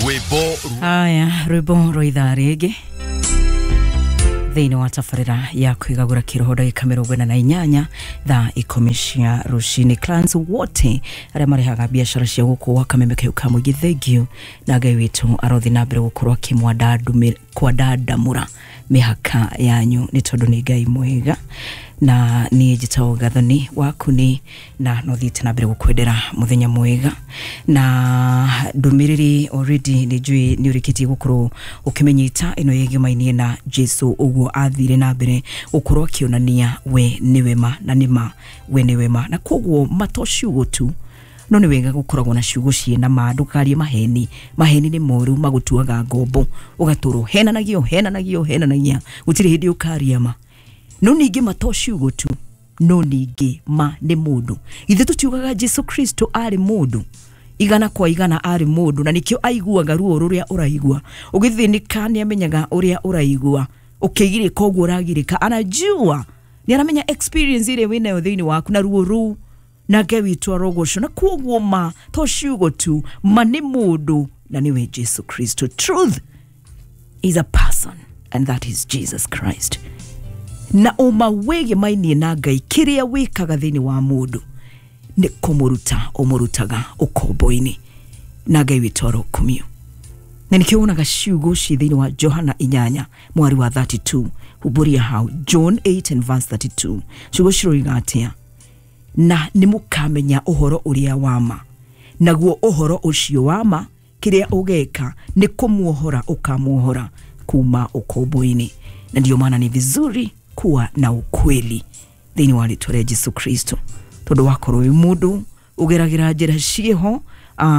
Rwĩmbo. Haya, rwĩmbo rwa ithaa rĩngĩ thĩinĩ wa tabarĩra ya kwĩgagũra kĩroho, ndagĩka 48 thaa 10 cia rũcinĩ. Clients wote arĩa marehaga biacara cia gũkũ gwa kameme kau ka mũingĩ, thank you, na Ngai witũ arothi na mbere gũkorwo akĩmwandandamũra mĩhaka yanyu, nĩ tondũ nĩ Ngai mwega. Na niĩ njĩtagwo Gathoni waku nĩ na no thiĩte na mbere gũkwendera mũthenya mwega na ndũmĩrĩri. Already nĩ njũĩ nĩ ũrĩkĩtie gũkorwo ũkĩmenyita ĩno yĩgĩmainie na Jesu, ũguo athire na mbere gũkorwo akĩonania we nĩwe ma na nĩ ma we nĩwe ma. Na koguo ma to ciugo tu, no nĩ wega gũkoragwo na ciugo ciĩna ma. Ndũkarie maheni. Maheni nĩ moru, magũtuaga ngombo, ũgatũrwo henanagio henanagio henanagia, gũtirĩ hĩndĩ ũkaria ma. No ningĩ ma to ciugo tu, no ningĩ ma nĩ mũndũ. Ithuĩ tũtiugaga Jesu Kristo arĩ mũndũ igana kwa igana? Arĩ mũndũ, na nĩkĩo aiguaga ruo rũrĩa ũraigua ũgĩthĩnĩka. Nĩ amenyaga ũrĩa ũraigua ũkĩgirĩka, ũguo ũragirĩka anajua, nĩ aramenya experience ĩrĩa wĩnayo thĩinĩ waku na ruo rũu, na Ngai witũ arogocwo. Na koguo ma to ciugo tu, ma nĩ mũndũ, na nĩwe Jesu Kristo. Truth is a person, and that is Jesus Christ. Na ũma wĩgĩmainie na Ngai, kĩrĩa wĩkaga thĩinĩ wa mũndũ nĩ kũmũruta ũmũrutaga ũkombo-inĩ, na Ngai witũ arokumio. Na nĩkĩo wonaga ciugo ci thĩinĩ wa Johana 8 mwari wa 32. Humbũria hau, John 8 and verse 32. Ciugo ciroiga atĩa? Na nĩ mũkamenya ũhoro ũrĩa wa ma, naguo ũhoro ũcio wa ma, kĩrĩa ũgeka nĩ kũmuohora ũkamuohora kuma ũkombo-inĩ. Na ndio maana ni vizuri kuwa na ukweli thĩinĩ wa rĩtwa rĩa Jesu Kristo, tondũ wakorwo wĩ mũndũ ũgeragĩra njĩra ciĩho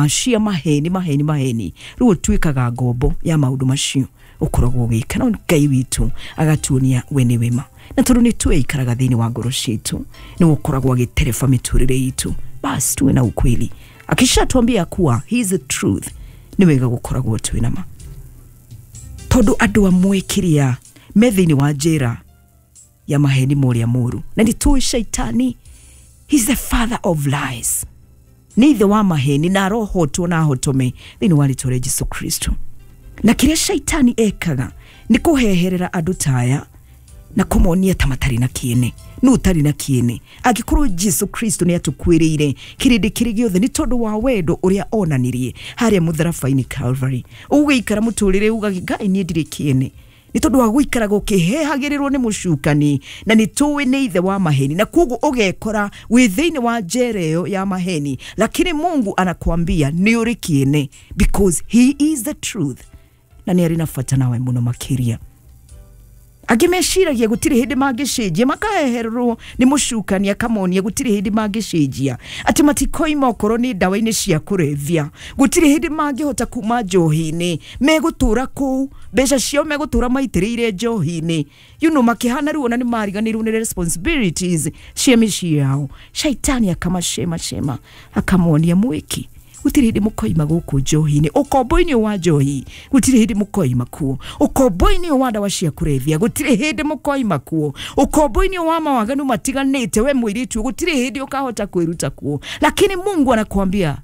cia maheni maheni maheni, rĩu ũtuĩkaga ngombo ya maũndũ macio ũkoragwo ũgĩka. No Ngai witũ agatuonia we nĩ wema, na tondũ nĩ twĩikaraga thĩinĩ wa ngoro citũ, nĩ ũkoragwo agĩtereba mĩtũrĩre itũ. Basi tuwe na ukweli. Akishatuambia kuwa he is the truth, nĩ wega gũkoragwo twĩ na ma, tondũ andũ amwe kĩrĩa me thĩinĩ wa njĩra ya maheni mũrĩa mũru, na nĩ tũĩ shaitani, he's the father of lies, nĩ ithe wa maheni, na arohotwo na ahotome thĩinĩ wa rĩtwa rĩa Jesu Kristo. Na kĩrĩa shaitani ekaga nĩ kũheherera andũ taya na kũmonia ta matarĩ na kĩene. Nũ ũtarĩ na kĩene angĩkorwo Jesu Kristo nĩ atũkuĩrĩire kĩrĩndĩ kĩrĩ gĩothe nĩ tondũ wa wendo ũrĩa onanirie harĩa mũtharaba-inĩ Calvary? Ũgũikara mũtũrĩre uga, "Ngai, niĩ ndirĩ kĩene," nĩ tondũ wa gũikaraga ũkĩhehagĩrĩrwo nĩ mũcukani, na nĩ tũĩ nĩ ithe wa maheni, na koguo ũgekora wĩ thĩinĩ wa njera ĩyo ya maheni. Lakini Mungu anakuambia nĩ ũrĩ kĩene, because he is the truth, na nĩ arĩ na bata nawe mũno makĩria. Angĩ meciragia gũtirĩ hĩndĩ mangĩcenjia, makahehererwo nĩ mũcukani akamonia gũtirĩ hĩndĩ mangĩcenjia, atĩ matikoima okorwo nĩ ndawa-inĩ cia kũrebia, gũtirĩ hĩndĩ mangĩhota kuma njohi-inĩ, megũtũra kũu, mbeca ciao megũtũra maitĩrĩire njohi-inĩ, makĩhana rĩu ona nĩ mariganĩirwo nĩ responsibilities cia mĩciĩ yao. Shaitani akamacema cema, akamonia mwĩki gũtirĩ hĩndĩ mũkoima gũkũ njohi-inĩ, ũkombo-inĩ wa njohi gũtirĩ hĩndĩ mũkoima kuo, ũkombo-inĩ wa ndawa cia kũrebia gũtirĩ hĩndĩ mũkoima kuo, ũkombo-inĩ wa mawaganu matiganĩte, we mũirĩtu gũtirĩ hĩndĩ ũkahota kwĩruta kuo. Lakini Mungu anakuambia